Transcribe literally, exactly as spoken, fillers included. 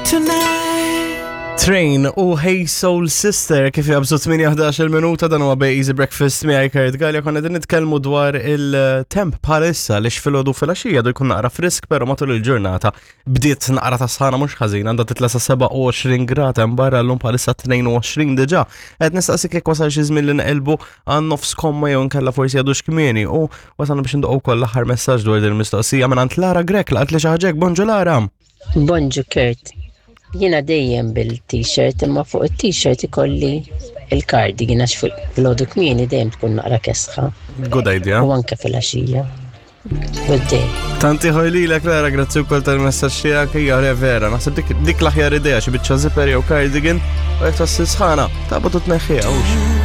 Tonight. Train u Hey Soul Sister kif jabżu tmienja ħdax minuta. Dan huwa Bay Easy Breakfast miegħi Kurt Gallia. Konna din nitkellmu dwar il-temp bħalissa li filgħodu, filgħaxija du jkun naqra frisk, però matul il-ġurnata bdiet naqra ta' sħana mhux ħażin, għandha titla' sa sebgħa u għoxrin grad hemm barra llum, bħalissa tnejn u għoxrin diġà. Qed nistaqsik jekk wasal xi żmien li nqelbu għan nofs komma jew nkella forsi għadux kmieni, u wasalna biex ndoqgħu wkoll l-aħħar messaġġ dwar din il-mistoqsija minn Lara Grek laqat li xi ħaġa. Bonġu Lara. Bonġu Kurt. Jiena dejjem bil-t-shirt, imma fuq il-t-shirt ikolli il-cardigan għax filgħodu kmieni dejjem tkun naqra kesħa. Good idea. U anke filgħaxija. Good day. Tanti ħojlilek Lara, grazzi wkoll tal-messaġġ tiegħek, hija re vera. Naħseb dik dik l-aħjar idea, xi biċċa zipper jew cardigan, u jekk tassi sħana, taqbad u tneħħiha hux.